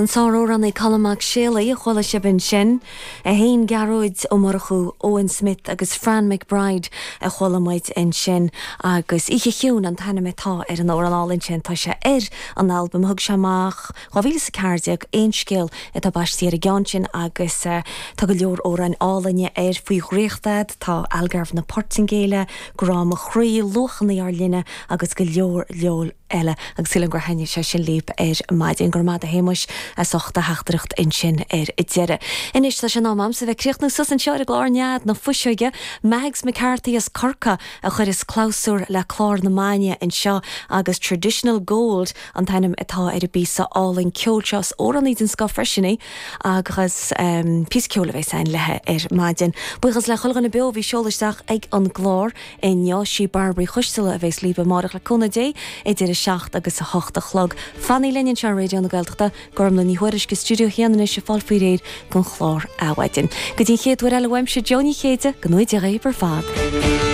An sár-amhránaí Colm Mac Séalaigh a chuala sibh ansin. É féin, Gearóid Ó Murchú, Owen Smith agus Fran McBride a chuala muid ansin agus Oíche Chiúin an t-ainm atá ar an amhrán álainn sin. Tá sé ar an albam a thug sé amach 2014, Aon Scéal atá baistí ar an gceann sin agus tá go leor amhráin álainne air, Faoi Dhraíocht A'd, tá Algarve na Portaingéile, Grá Mo Chroí, Luachanna Ár Linne agus go leor leor. eile agus sílim gur thaitnigh sé sin libh ar maidin. Go raibh maith agat a Shéamuis as ucht do theachtaireacht ansin ar deireadh. Anois tá sé in am a'msa bheith ag críochnú suas anseo ar an gclár Nead na Fuiseoige. Mags McCarthy as Corcaigh a chuireas clabhsúr le clár na maidne anseo agus Traditional Gold an t-ainm atá ar an bpíosa álainn ceoil seo. Is amhránaí den scoth freisin í agus píosa ceoil a bheas a'inn léi ar maidin. Buíochas le chuile dhuine beo a bhí ag seoladh isteach ag an gclár. Inniu, sí Bairbre Uí Choisteala a bheas libh amárach le cúnamh Dé idir 7 agus 8 a chlog. Fanaigí linn anseo ar Raidió na Gaeltachta, Gormlaith Ní Thuairisg i Stiúideo 1 anois ag fáil faoi réir don chlár Adhmhaidin. Go dtí an chéad uair eile uaimse, Joe Ní Chéide, go ngnóthaí Dia dhaoibh ar fad.